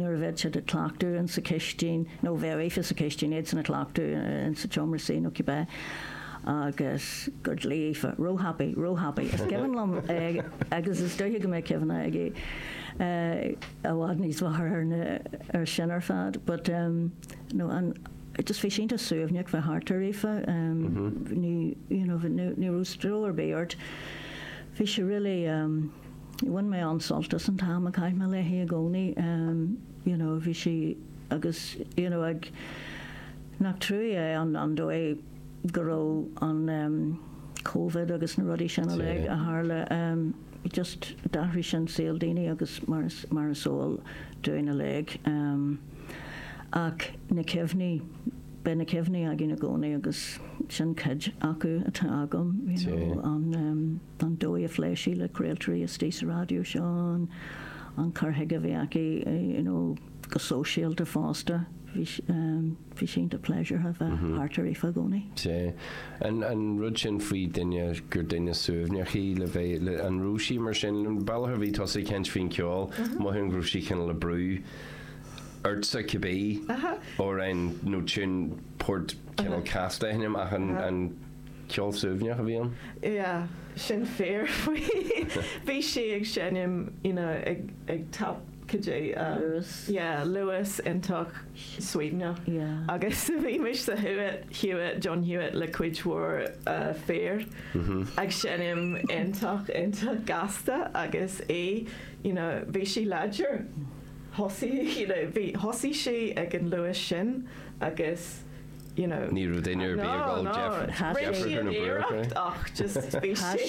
nuair a bheadh siad ag cleachtadh in sa chistin, nó bheadh Aoife sa chistin, iadsan ag cleachtadh in sa tseomra suí nó cibé, agus gur ghlaoigh Aoife, róthapaidh, róthapaidh. Is cuimhin liom é agus is dóiche go mbeidh cuimhne aici i bhfad níos fearr ar na, ar sin ar fad. But no, an, just bhí sé iontach suaimhneach bheith thart ar Aoife, ní, you know, ní raibh stró ar bith ort. Bhí sé really, bhain mé an-sult as an t-am a chaith mé léi i gcónaí, you know, bhí sí agus, you know, ag, nach trua é an, an dóigh go raibh an Covid agus na rudaí sin uilig a tharla, just d'athraigh sin saol daoine agus mar is, mar is eol dúinn uilig. Ach na cuimhní, beidh na cuimhní againn i gcónaí agus sin cuid acu atá agam, you know, an, an dóigh a phléigh sí le craoltóirí istigh sa raidió seo, an, an cur chuige a bhí aici, you know, go sóisialta fosta, bhí, bhí sé iontach pléisiúrtha bheith thart ar Aoife i gcónaí. Sea. An, an rud sin faoi duine, gur duine suaimhneach í le bheith, le, an raibh sí mar sin? An bealach a bhí tusa ag caint faoin cheol, mothaím go raibh sí cineál ag brú ortsa cibé amhrán nó tiún port cineál casta a sheinm ach an, an ceol suaimhneach a bhí ann? Yeah, sin fíor faoi. Bhí sí ag seinm, you know, ag, ag tap, cad é, Luas. Yeah, luas iontach suaimhneach. Yeah. Agus bhí mise sa Hewitt, Hewitt, John Hewitt le cuid mhór fir ag seinm iontach, iontach gasta agus í, you know, bhí sí láidir. Thosaigh, you know, bhí, thosaigh sí ag an luas sin agus, you know. Ní raibh duine ar bith ag dul No, no, rinne sí an iarracht ach just bhí sí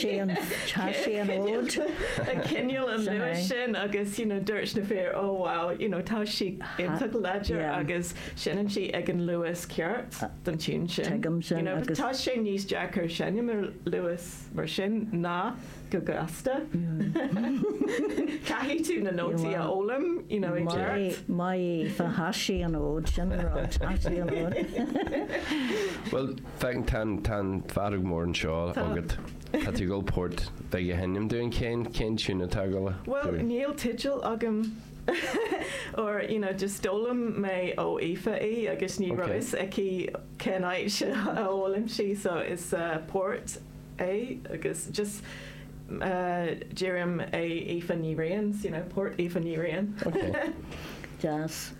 Chaith sí an fhód. ag coinneáil an luas sin agus, you know, dúirt na fir, oh wow, you know, tá sí iontach láidir agus seinneann sí ag an luas ceart don tiún sin. Tuigim sin You know, agus. tá sé níos deacair seinm ar luas mar sin ná go gasta. Caithfidh tú na nótaí a fhoghlaim, you know, i gceart. Maith Aoife, chaith sí an fhód, sin an rud, chaith sí an fhód. Bhuel, féach, tá an, tá an fheadóg mhór anseo agat. Tá tú ag dul port beag a sheinm dúinn. Cén, cén tiún atá ag dul a? Bhuel, níl teideal agam or, you know, just d'fhoghlaim mé ó Aoife í agus ní raibh fhios aici cén áit a fhoghlaim sí, so is port é agus just deirim é Aoife Ní Riain, you know, port Aoife Ní Riain. Ok. Deas.